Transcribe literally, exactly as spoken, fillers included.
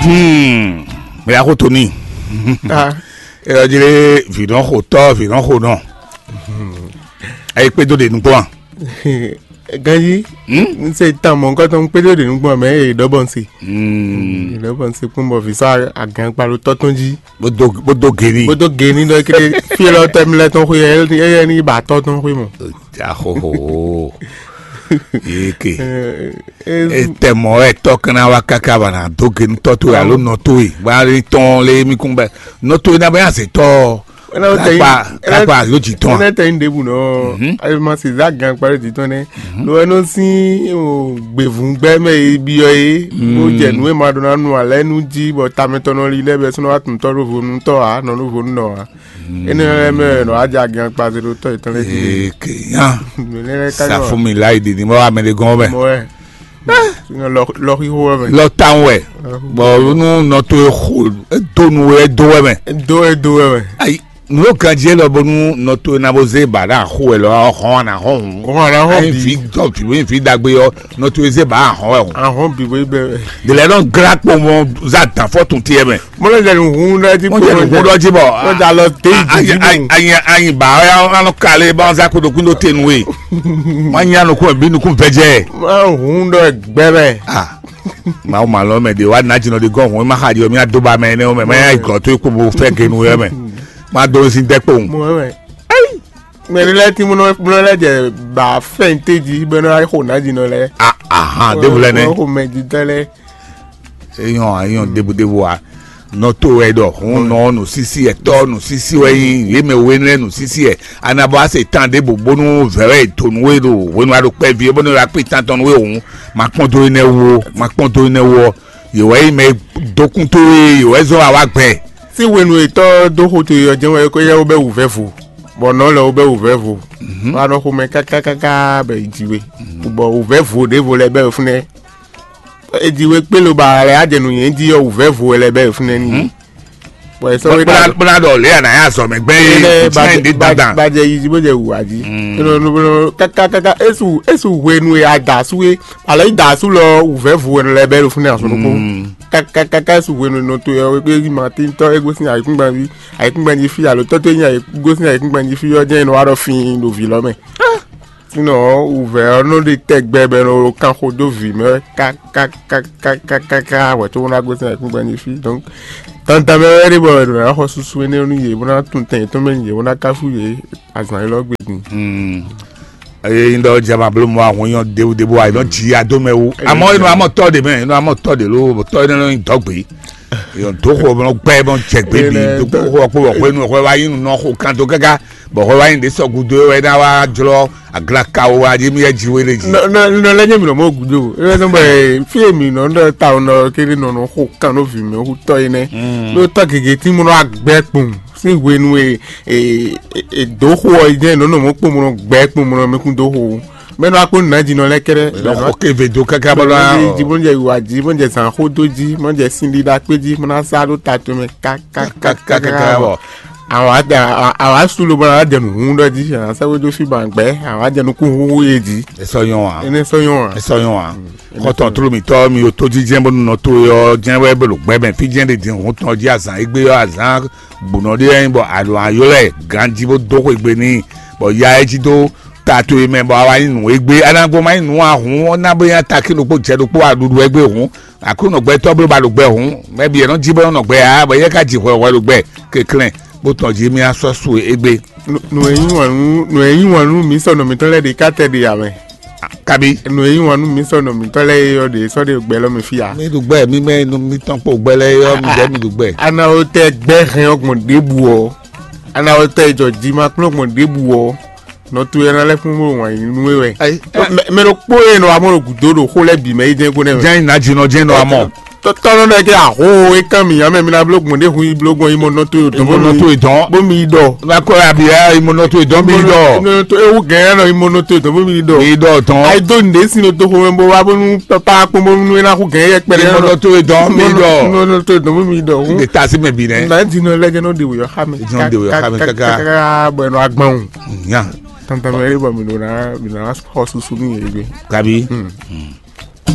Hmm, mɛ ya xo to ní. Ah. Ɛ ɔ́ jlé vǐnɔxotɔ́ vǐnɔxonɔ. Ɛ yi kpédó ɖe nukpɔ́n a? Ganji, Hmm? N se tan mɔ̌hunkɔtɔn kpédó ɖe nukpɔ́n mɛ e ɖɔ bɔ n se. Hmm. Ɖɔ bɔ n se kpɔ́n bɔ vǐ sɔ́ agǎnkpa ɖo tɔ́ tɔn jí. Bó dó bó dó geni. Bó dó geni ɖɔ kiri fí lɔ tɛ mi lɛ tɔn xwe yɛ yɛ ni ba tɔ́ tɔn xwe mɔ. Ahoho. Yeke. Ɛ, ɛ, Etɛmɔ wɛ tɔ kana wa kaka ba na do genu tɔ to alo nɔ to e ba le tɔn le mi kun bɛ nɔ to e na bɛ ase tɔ. Ena o tɛ yin- Kakpa ena- kakpa alo dzi tɔn. Ena tɛ yin ɖebu nɔ Mhm. Ayi ma se za gan kpa ɖe dzi tɔn nɛ. Lo ɛnɔ sin o gbevun gbɛ mɛ e biɔ ye. Mo jɛ nu e ma ɖo na nu alɛ nu jí bɔ tamɛtɔnɔ li lɛ bɛ sɔnɔ wa tun tɔ ɖo vo nu tɔ a nɔ ɖo vo nu nɔ a. Ene lɛ mɛ nɔ adza gan kpa se ɖo tɔ yetɔn lɛ jí. Ee, ke yan. Nɛ lɛ ka Sa fún mi láì dìní mọ́ amẹ́lẹ́gán mẹ́. Mɔ ɛ. Lɔ lɔ xixo wɛ mɛ. Lɔ tan wɛ. Bɔ nú nɔ to e xo e do nu wɛ e do wɛ mɛ. Do e do wɛ mɛ. Ayi, nu yóò kan jí lɔ bónú nɔ to e na bó zé ba ɖo axo wɛ lɔ hɔn ana hɔn hùn. Hɔn ana hɔn Ayi bi. Fi dɔ fi wí fi dagbe yɔ nɔ to e zé ba ahɔn wɛ hùn. Ahɔn bi bo yi bɛ. De lɛ nɔ gra kpɔmɔ za dan fɔ tun tiɛ mɛ. Mo lɛ jɛ nu hun ɖe ti Mo jɛ nu hun ɖɔ jí bɔ. Mo jɛ alɔ te yi didi mu. Anyi anyi ba ya anɔ kale ba za ko dokun do te nu we. Ma nya nukun bi nukun vɛjɛ. Ma hun ɖɔ gbɛ mɛ. Ah. Mawu malɔ mɛ de wa na jinɔ de gɔn hun ma xa di mi ado ba mɛ ne o mɛ ma ya gɔ to ko bo fɛ genu yɛ mɛ. Ma do sin de kpɔn. Mo mɛ. Mɛ ne lɛ ti mo nɔ mo lɛ jɛ ba fɛn te ji bɛ nɔ ayi xo na jinɔ lɛ. Ah ah, de bu lɛ ne. Xo mɛ ji tɛ lɛ. Eyɔn eyɔn debudebu a nɔ to wɛ ɖɔ hun nɔ nusisi ɛtɔ nusisi wɛ yi yé mɛ wenu lɛ nusisi ɛ anabɔ ase tan ɖe bo bónú vɛwɛ tonu wɛ ɖo hwenu aɖo kpɛvi bónú la kpé tan tɔnu wɛ hun ma kpɔn do yi nɛ wo ma kpɔn do yi nɛ wo yewɔ yi mɛ dokun to ye yewɔ zɔ awa gbɛ. Sí hwenu etɔ́ dó xo to yɔ jɛ́n wɛ kó yɛ wo bɛ wǔvɛ́ vo, bɔ nɔ lɛ wo bɛ wǔvɛ́ vo. Wa nɔ xomɛ kákákáká bɛ yi ji we, bɔ wǔvɛ́ vo ɖěvo lɛ bɛ fúnɛ. Eji we kpé ló ba lɛ adze nǔ nyɛ jí ɔ́ wǔvɛ́ vo wɛ lɛ bɛ fúnɛ ní. Bɔ è sɔ́ wé Bóná bóná ɖɔ lě àná yà zɔ mɛ gbɛn yé Ele bísí ní ɖe dandan. Bàjẹ́ yìí bó jẹ́ wùwà jí. Kákákáká esu esu hwenu e a da su e alɔ yi da su lɔ wùvẹ́ vo wɛ lɛ bɛ ɖo fúnɛ asɔ ɖokpó. Kákákáká esu hwenu e nɔ to yɔ wé ma tí tɔ é gosín ayǐkúngban ví ayǐkúngban jí fí alo tɔ tó nyí ayǐ gosín ayǐkúngban jí fí ɔ́ jẹ́ inɔ wa ɖɔ fín ɖo vǐ lɔ mɛ. Sinɔ wuvɛ ɔ́ nɔ ɖi tɛgbɛ bɔ è nɔ kan xo dó vǐ mɛ wɛ kákákákákáká hwɛ̌ tó bó ná gosín ayǐkúngban jí fí. Donc tantan mɛ wɛ ɖe bɔ è nɔ ná xɔ susu énɛ́ nú yě bó ná tunwun tɛn yětɔn mɛ nú yě bó ná káfú yě azǎn élɔ́ gbe din. Eye yin ɖɔ jama blo mɔ ahun nyɔ dewu dewu ayi nɔ dzi ado mɛ wu amɔ yin nɔ amɔ tɔ de mɛ yin nɔ amɔ tɔ de lo tɔ yin nɔ yin dɔgbe yin do xɔ bɔ gbɛ bɔ jɛ gbe bi do xɔ kpɔ bɔ xɔ enu xɔ wa yin nɔ xɔ kan do gaga bɔ xɔ wa yin de sɔ gudo wɛ na wa jlɔ aglakawo wa di mi yɛ dzi wele dzi. Nɔ lɛ nye mi nɔ mɔ gudo e nɔ bɛ fi mi nɔ nɔ ta nɔ kiri nɔ nɔ xɔ kan nɔ vi mi hu tɔ yi nɛ. Nɔ tɔ gege ti mu nɔ agbɛ kpɔn. Sín hwenu e e e dǒ xo ɔ́ yi jɛ́n nɔ́ nɔ mɔ̌ kpomlɔ gbɛ̌ kpomlɔ mɛ kún dó xo. Mɛ nɔ akpó nǎ jí nɔ lɛ́ kɛ́ɖɛ́. Lɔ xɔ ke ve dó káká bɔ lɔ. Jí bó ń jɛ yiwa jí bó ń jɛ zǎnxó dó jí bó ń jɛ sin ɖiɖa kpé jí bó ná sá ɖó ta tomɛ kákákákáká bɔ. Àwọn àdá àwọn asúlò bó ná jẹ nù hún ɖɔ jí àwọn sɛwé dó fí bàn gbɛ àwọn àjẹ nukún húhú yé jí. Esɔ yɔn wa. Ene sɔ yɔn wa. Esɔ yɔn wa. Xɔtɔn tulu mitɔ mi yo tó jíjɛ bó nɔ tó yɔ jẹ́ wɛ bó ɖo gbɛ mɛ fí jẹ́ ɖe din hun tɔn jí azan égbé yɔ azan gbonɔ ɖé yɛ bɔ alo ayɔ lɛ ganji bó dó xwegbe n'i bɔ ya ɛ jí dó ta to yi mɛ bɔ awa nyi nǔ égbé anagbo ma nyi nǔ ahun ɔ́ ná bó nya takí ɖokpó jɛ ɖokpó aɖuɖu égbé hun aklúnɔ gbɛtɔ́ bó ba ɖo gbɛ hun mɛ bi yɛ nɔ jí bó nɔ gbɛ ya bɔ yɛ ka ji hwɛhwɛ ɖo gbɛ keklɛn bó tɔn jí mí asɔ su égbé. Nǔ e yí wǎn nú nǔ e yí wǎn nú mǐ sɔnɔ mǐtɔn lɛ́ɛ ɖe ká tɛ ɖe ǎ mɛ. Kabi. Nǔ e yí wǎn nú mǐ sɔnɔ mǐtɔn lɛ́ɛ é ɔ́ ɖě sɔ́ ɖe gbɛ lɔ mɛ fí ǎ. Mi ɖu gbɛ mi mɛ nu mi tɔn kpo gbɛ lɛ yɔ mi jɛ mi ɖu gbɛ. Anawo tɛ gbɛ hɛn ɔgbɔn ɖěbǔ ɔ́ anawo tɛ jɔ ji ma kplɔ́n gbɔn ɖěbǔ ɔ́ nɔ to yɛ na lɛ́ kún bó wǎn yí nú é wɛ. Ayi. Mɛ ɖokpó e nɔ amɔ ɖo gǔdo ɖo xó lɛ́ɛ bǐ mɛ yi jɛ́n kó nɛ́ mɛ. Jɛ́n nǎjínɔ jɛ́n nɔ amɔ. Tɔtɔnɔ ɖe ke aho e kan mi ame mi na blo gbɔn ɖe hun yi blo gbɔn yi mɔ nɔ to yi dɔn Imɔ nɔ to idɔn. Bo mi dɔ. Nakɔ abi ya imɔ nɔ to idɔn mi dɔ. Ewu gɛn ya nɔ yi mɔ nɔ to yi dɔn bo mi dɔ. Mi dɔ tɔn. Ayi do nde si no to xɔmɛ bo wa bonu papa kpɔn bonu ena xu gɛn yɛ kpɛrɛ Imɔ nɔ to idɔn mi dɔ. Nɔ nɔ to yi dɔn bo mi dɔ. De ta si mɛ bi nɛ. Na di nɔ lɛ jɛ nɔ de wuyɔ xa mi. Jɔn de wuyɔ xa mi kaka. Bɔ ɛnɔ agban o. Nya. Tantan mɛ eri bɔ mi do na mi na xɔ susu ni yɛ gbe. Kabi.